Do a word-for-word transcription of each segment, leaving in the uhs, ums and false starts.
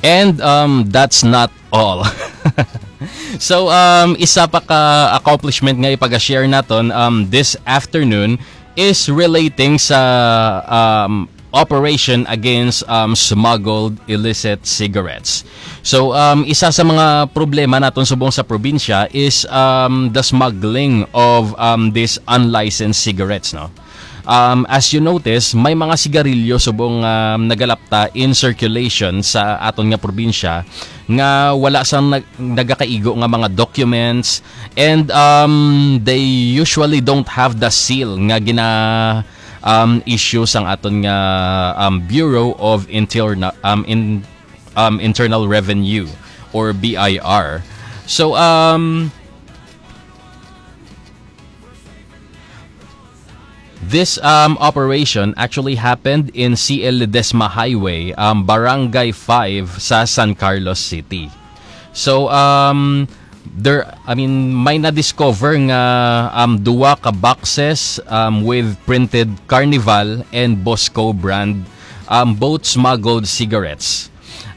And um, that's not all. So um, isa pa ka accomplishment nga ipag-share naton um, this afternoon is relating sa um, operation against um, smuggled illicit cigarettes. So um, isa sa mga problema naton subong sa probinsya is um, the smuggling of um, these unlicensed cigarettes, no? Um, as you notice, may mga sigarilyo subong um, nagalapta in circulation sa aton nga probinsya nga wala sang nag- nagakaigo nga mga documents, and um, they usually don't have the seal nga gina um, issue sang aton nga um, Bureau of Interna- um, in, um, Internal Revenue or B I R. So um, this um, operation actually happened in C L Ledesma Highway, um, Barangay five sa San Carlos City. So um, there, I mean, may na-discover nga um, duwa ka boxes um, with printed Carnival and Bosco brand, um, both smuggled cigarettes.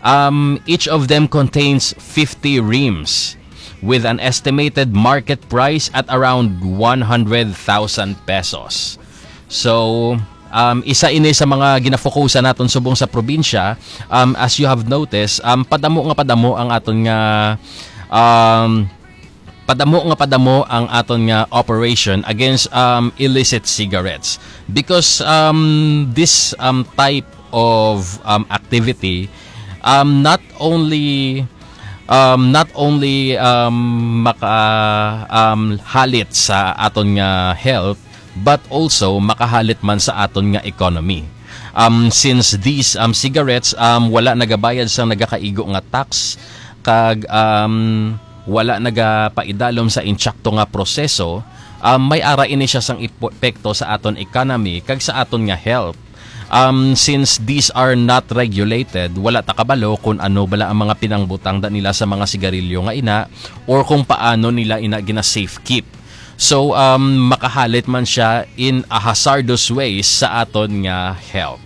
Um, each of them contains fifty reams with an estimated market price at around one hundred thousand pesos. So, um, isa ini sa mga ginafokusan naton subong sa probinsya. Um, as you have noticed, um, padamo nga padamo ang aton nga um, padamo nga padamo ang aton nga operation against um, illicit cigarettes, because um, this um, type of um, activity um, not only um, not only um, maka um, halit sa aton nga health, but also makahalit man sa aton nga economy. Um, since these um, cigarettes um, wala nagabayad sang nagakaigo nga tax, kag um, wala nagapaidalom sa intsakto nga proseso, um, may ara ini siya sang epekto sa aton economy kag sa aton nga health. Um, since these are not regulated, wala ta kabalo kung ano bala ang mga pinangbutang da nila sa mga sigarilyo nga ina or kung paano nila ina gina-safe keep. So um, makahalit man siya in a hazardous ways sa aton nga health.